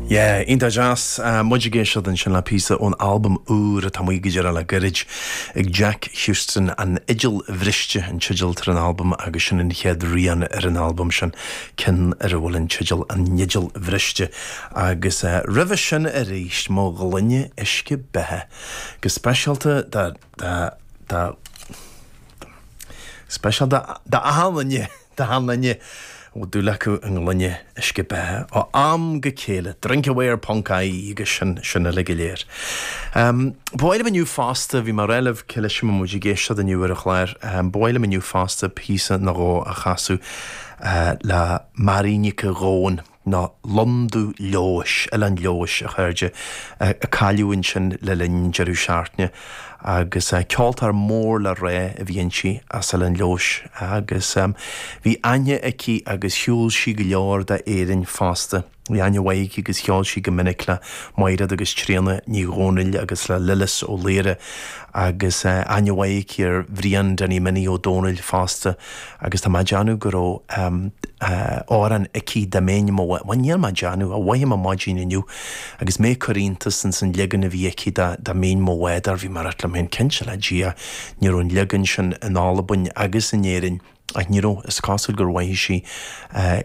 Yeah, iontach deas. Muid ag éisteacht ansin le píosa ón albam úr atá amuigh go díreach le gairid ag Jack Huston, An Fhidil Bhriste an teideal atá ar an albam agus sin an chéad rian ar an albam sin, ceann ar a bhfuil an teideal An Fhidil Bhriste. Agus roimhe sin arís, Mo Ghloine Uisce Beatha. Go speisialta do, do, do, speisialta d'achan duine. D'achan duine a bhfuil dúil acu i ngloine uisce beatha ó am go chéile, drinkaware ponc ie agus sin, sin uile go léir. Ba mhaith liom inniu fosta, bhí mé ag rá libh cloisfidh muid ag éisteacht inniu ar an chlár, ba mhaith liom inniu fosta píosa nó dhó a chasadh le Mary Nic Gabhann. nó Londubh Leodhais, Oileán Leodhais, a chairde, a cailleadh ansin le linn an deireadh seachtaine agus ceoltóir mór le rá a bhí inti as Oileán Leodhais agus bhí aithne aici agus shiúil sí go leor d'Éirinn fosta. Bhí aithne mhaith aici agus cheol sí go minic le Maighread agus Tríona Ní Dhomhnaill agus le Lillis Ó Laoire agus aithne mhaith aici ar Bhrian Danny Minnie Ó Domhnaill fosta. Agus tá mé ag déanamh go raibh amhrán aici dá mbeinn i mo bhuel níl mé ag déanamh, a mhothaigh mé maidin inniu agus mé ag cur iontas ins an leagan a bhí aici de dá mbeinn i mo bhádóir, bhí mé ag rá liom féin, cinnte le Dia, ní raibh an leagan sin in Albain agus in Éirinn ach ní raibh, is cosúil gur mhaígh sí é.